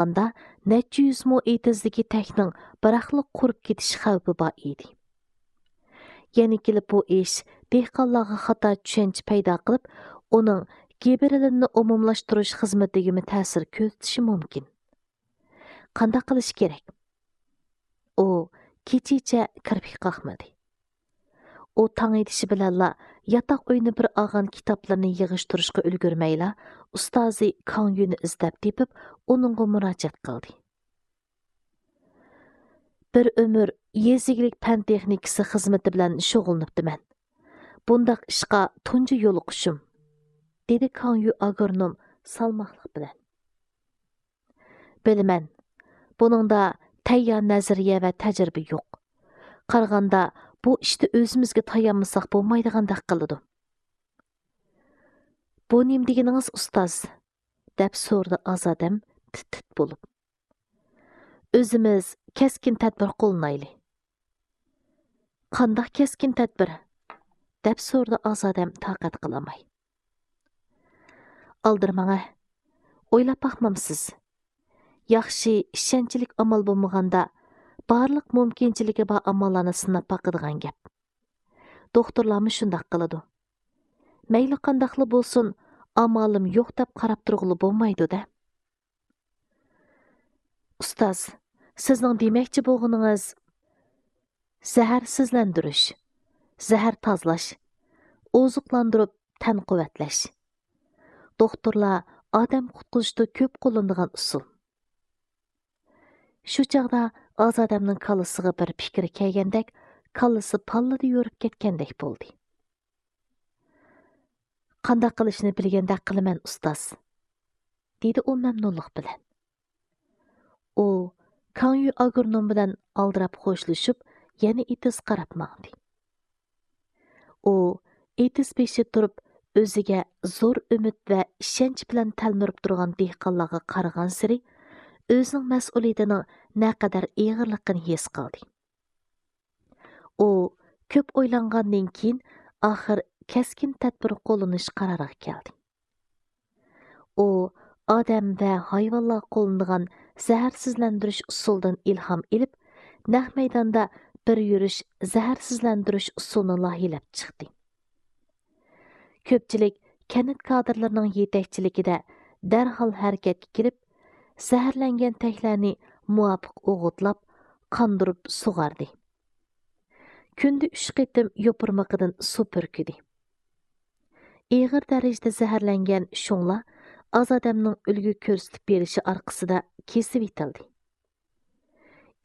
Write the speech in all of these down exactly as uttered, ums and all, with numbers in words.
قارىغاندا، نەچچە يۈز مو ئېتىزدىكى تەكنىڭ بىراقلا قۇرۇپ كېتىش خەۋپى بار ئىدى. يەنە كېلىپ بۇ ئىش دېھقانلارغا خاتا چۈشەنچە پەيدا قىلىپ، ئۇنىڭ گىبېرېللىننى ئومۇملاشتۇرۇش خىزمىتىگىمۇ تەسىر كۆرسىتىشى مۇمكىن. قانداق قىلىش كېرەك؟ ئۇ كېچىچە كىرپىك قاقمىدى. ئۇ تاڭ ئېتىشى بىلەنلا ياتاق ئۆينى بىر ئالغان كىتابلىرىنى يىغىشتۇرۇشقا ئۈلگۈرمەيلا، ئۇستازى كاڭ يۈنى ئىزدەپ تېپىپ، ئۇنىڭغا مۇراجىئەت قىلدى. بىر ئۆمۈر يېزا ئىگىلىك پەن تېخنىكىسى خىزمىتى بىلەن شۇغۇللىنىپتىمەن. بۇنداق ئىشقا تۇنجى يولۇقۇشۇم، دېدى كاڭ يۈ ئاگرونوم سالماقلىق بىلەن. بىلىمەن، بۇنىڭدا تەييار نەزەرىيە ۋە تەجرىبە يوق. قارىغاندا، بۇ ئىشتا ئۆزىمىزگە تايانمىساق بولمايدىغاندەك قىلىدۇ. بۇ نېمە دېگىنىڭىز، ئۇستاز؟ دەپ سورىدى ئازادەم تىت-تىت بولۇپ. ئۆزىمىز كەسكىن تەدبىر قوللىنايلى. قانداق كەسكىن تەدبىر؟ دەپ سورىدى ئازادەم تاقەت قىلالماي. ئالدىرىماڭە، ئويلاپ باقمامسىز؟ ياخشى، ئىشەنچلىك ئامال بولمىغاندا، بارلىق مۇمكىنچىلىكى بار ئاماللارنى سىناپ باقىدىغان گەپ. دوختۇرلارمۇ شۇنداق قىلىدۇ. مەيلى قانداقلا بولسۇن، ئامالىم يوق دەپ قاراپ تۇرغىلى بولمايدۇ-دە. ئۇستاز، سىزنىڭ دېمەكچى بولغىنىڭىز زەھەرسىزلەندۈرۈش، زەھەر تازىلاش، ئوزۇقلاندۇرۇپ تەن قۇۋۋەتلەش. دوختۇرلار ئادەم قۇتقۇزۇشتا كۆپ قوللىنىدىغان ئۇسۇل. شۇ چاغدا ئازادەمنىڭ كاللىسىغا بىر پىكىر كەلگەندەك، كاللىسى پاللىدە يورۇپ كەتكەندەك بولدى. قانداق قىلىشنى بىلگەندەك قىلىمەن، ئۇستاز، دېدى ئۇ مەمنۇنلۇق بىلەن. ئۇ كاڭيۈ ئاگرونوم بىلەن ئالدىراپ خوشلىشىپ، يەنە ئېتىز قاراپ ماڭدى. ئۇ ئېتىز بېشى تۇرۇپ، ئۆزىگە زور ئۈمىد ۋە ئىشەنچ بىلەن تەلمۈرۈپ تۇرغان دېھقانلارغا قارىغانسېرى، ئۆزىنىڭ مەسئۇلىيىتىنىڭ نەقەدەر ئېغىرلىقىنى ھېس قىلدى. ئۇ كۆپ ئويلانغاندىن كېيىن، ئاخىر كەسكىن تەدبىر قوللىنىش قارارىغا كەلدى. ئۇ ئادەم ۋە ھايۋانلار قوللىنىدىغان زەھەرسىزلەندۈرۈش ئۇسۇلىدىن ئىلھام ئېلىپ، نەق مەيداندا بىر يۈرۈش زەھەرسىزلەندۈرۈش ئۇسۇلىنى لايىھەلەپ چىقتى. كۆپچىلىك كەنت كادىرلىرىنىڭ يېتەكچىلىكىدە دەرھال ھەرىكەتكە كېلىپ، زەھەرلەنگەن تەكلەرنى مۇۋاپىق ئوغۇتلاپ، قاندۇرۇپ سۇغاردى. كۈندە ئۈچ قېتىم يوپۇرمىقىدىن سۇ پۈركىدى. ئېغىر دەرىجىدە زەھەرلەنگەن شۇڭلار ئازادەمنىڭ ئۈلگە كۆرسىتىپ بېرىشى ئارقىسىدا كېسىۋېتىلدى.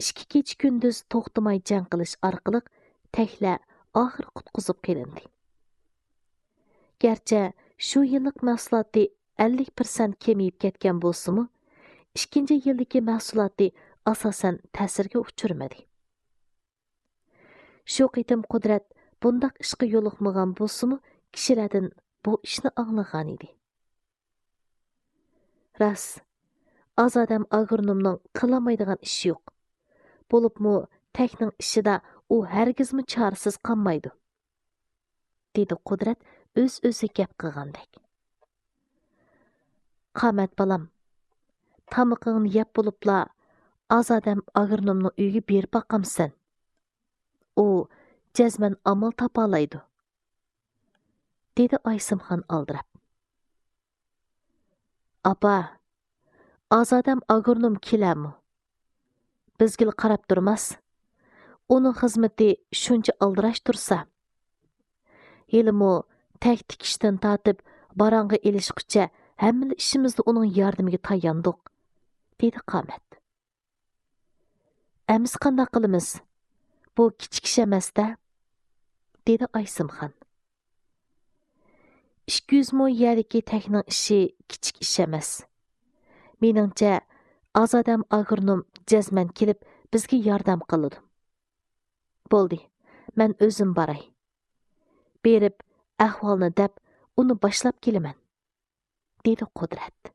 ئىككى كېچە-كۈندۈز توختىماي جەڭ قىلىش ئارقىلىق تەكلە ئاخىر قۇتقۇزۇپ قېلىندى. گەرچە شۇ يىللىق مەھسۇلاتى ئەللىك پىرسەنت كېمىيىپ كەتكەن بولسىمۇ، ئىككىنچى يىلدىكى مەھسۇلاتى ئاساسەن تەسىرگە ئۇچرىمىدى. شۇ قېتىم قۇدرەت بۇنداق ئىشقا يولۇقمىغان بولسىمۇ، كىشىلەردىن بۇ ئىشنى ئاڭلىغانىدى. راست، ئازادەم ئاگرونومنىڭ قىلالمايدىغان ئىشى يوق. بولۇپمۇ تەكنىڭ ئىشىدا ئۇ ھەرگىزمۇ چارىسىز قالمايدۇ، دېدى قۇدرەت ئۆز-ئۆزىگە گەپ قىلغاندەك. قامەت بالام، تامىقىڭنى يەپ بولۇپلا، ئازادەم ئاگرونومنىڭ ئۆيىگە بېرىپ باقامسەن؟ ئۇ جەزمەن ئامال تاپالايدۇ، دېدى ئايسىمخان ئالدىراپ. ئاپا، ئازادەم ئاگرونوم كېلەرمۇ؟ بىزگىلا قاراپ تۇرماس. ئۇنىڭ خىزمىتى شۇنچە ئالدىراش تۇرسا. ھېلىمۇ تەك تىكىشتىن تارتىپ باراڭغا ئېلىشقىچە ھەممىلا ئىشىمىزدا ئۇنىڭ ياردىمىگە تاياندۇق، دېدى قامەت. ئەمىسە قانداق قىلىمىز؟ بۇ كىچىك ئىش ئەمەس-دە، دېدى ئايسىمخان. ئىككى يۈز مو يەردىكى تەكنىڭ ئىشى كىچىك ئىش ئەمەس. مېنىڭچە، ئازادەم ئاگرونوم جەزمەن كېلىپ بىزگە ياردەم قىلىدۇ. بولدى، مەن ئۆزۈم باراي. بېرىپ ئەھۋالنى دەپ، ئۇنى باشلاپ كېلىمەن، دېدى قۇدرەت.